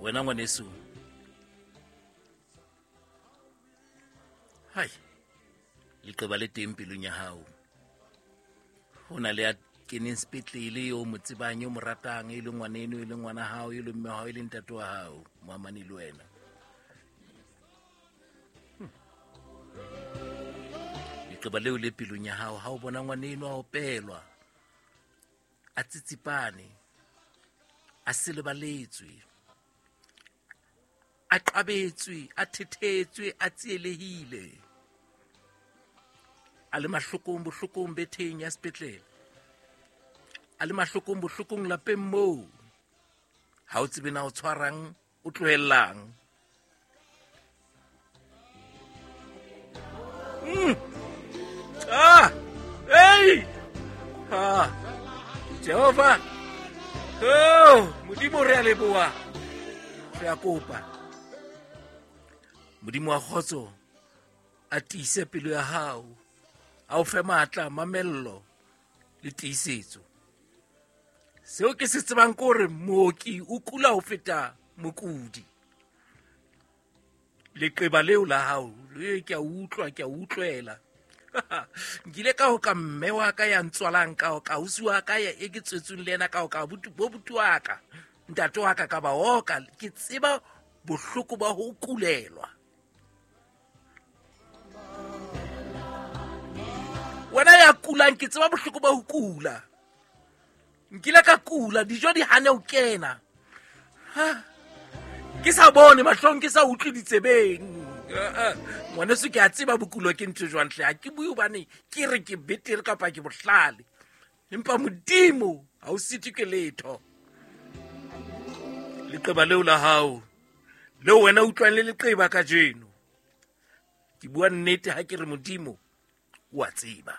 Wena ngwaneso, hai, leqeba le teng pelong ya hao. Ho na le ya keneng sepetlele yo mo tsebang, yo mo ratang, e leng ngwaneno, e leng ngwana hao, e leng mme wa hao, e leng ntate wa hao, moamane le wena. Leqeba leo le pelong ya hao, ha o bona ngwaneno a opelwa, a tsitsipane, a selebaletswe, a qabetswe, a thethetswe, a tsielehile, a le mahlokong bohlokong betheng ya sepetlele, a le mahlokong bohlokong lapeng moo, ha o tsebe na o tshwarang, o tlohellang. Ah! Hey! Ah! Jehova! Oh, Modimo re a leboha. Re a kopa. Modimo wa kgotso a tiise pelo ya hao, a o fe matla, mamello le tiisetso. Seo ke se tsebang ke hore mooki o kula ho feta mokudi. Leqeba leo la hao, le ke a utlwa, ke a utlwela. Nkile ka ho ka mme wa ka ya ntswalang, ka ho ka ausi wa ka ya e ke tswetsweng le yena, ka ho ka bo buti wa ka, ntate wa ka, ka ba oka. Ke tseba bohloko ba ho kulelwa. Wena ya kulang, ke tseba bohloko ba ho kula. Nkile ka kula, dijo di hane ho kena. Ha, ke sa bone mahlong, ke sa utlwe ditsebeng. Ngwaneso, ke a tseba bokulo ke ntho jwang hle. Ha ke bue hobane ke re ke betere kapa ke bohlale, empa Modimo ha o sitwe ke letho. Leqeba leo la hao, leo wena utlwang le leqeba kajeno, ke bua nnete ha ke re Modimo o a tseba.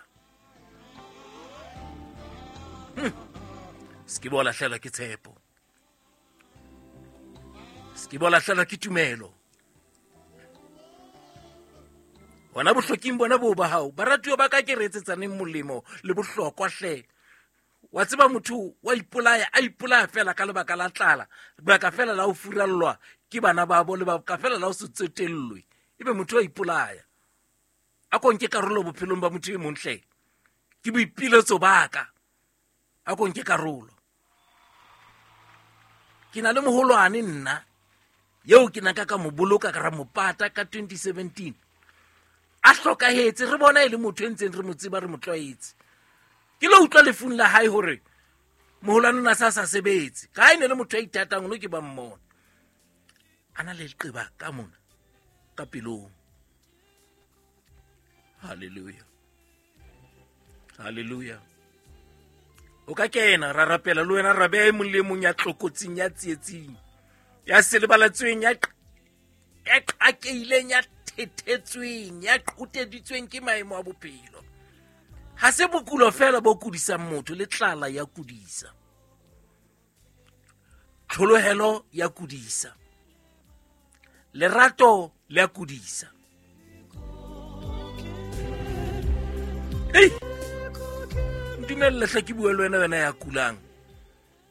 Se ke ba o lahlehelwa ke tshepo, se ke ba o lahlehelwa ke tumelo. Hona bohloking bona boo ba hao, baratuwa ba ka, ke re etsetsaneng molemo le bohlokwa hle. Wa tseba motho wa ipolaya, a ipolaya fela ka lebaka la tlala, lebaka fela la ho furallwa ke bana babo, lebaka fela la ho se tsotellwe, ebe motho wa ipolaya. A ko nke karolo bophelong ba motho e mong hle, ke boipiletso ba ka. A ko nke karolo. Ke na le moholwane nna eo ke nang ka mo boloka ka ra mo pata ka 2017. A hlokahetse, re bona e le motho e ntseng re mo tseba, re mo tlwaetse. Ke lo utlwa lefung la hae hore moholwane o na sa sa sebetse. Ka ha e ne le motho ya ithatang, ono ke ba mmona. A na le leqeba ka mona, ka pelong. Hallelujah. Hallelujah. O ka kena ra rapela le wena, ra beha e mong le e mong ya tlokotsing, ya tsietsing, ya selebalatsweng, ya qakehileng, ya thethetsweng, ya qoteditsweng ke maemo a bophelo. Ha se bokulo fela bo kudisang motho, le tlala ya kudisa, tlholohelo ya kudisa, lerato le ya kudisa. Ei, ntumelle hle ke bue le wena, wena ya kulang.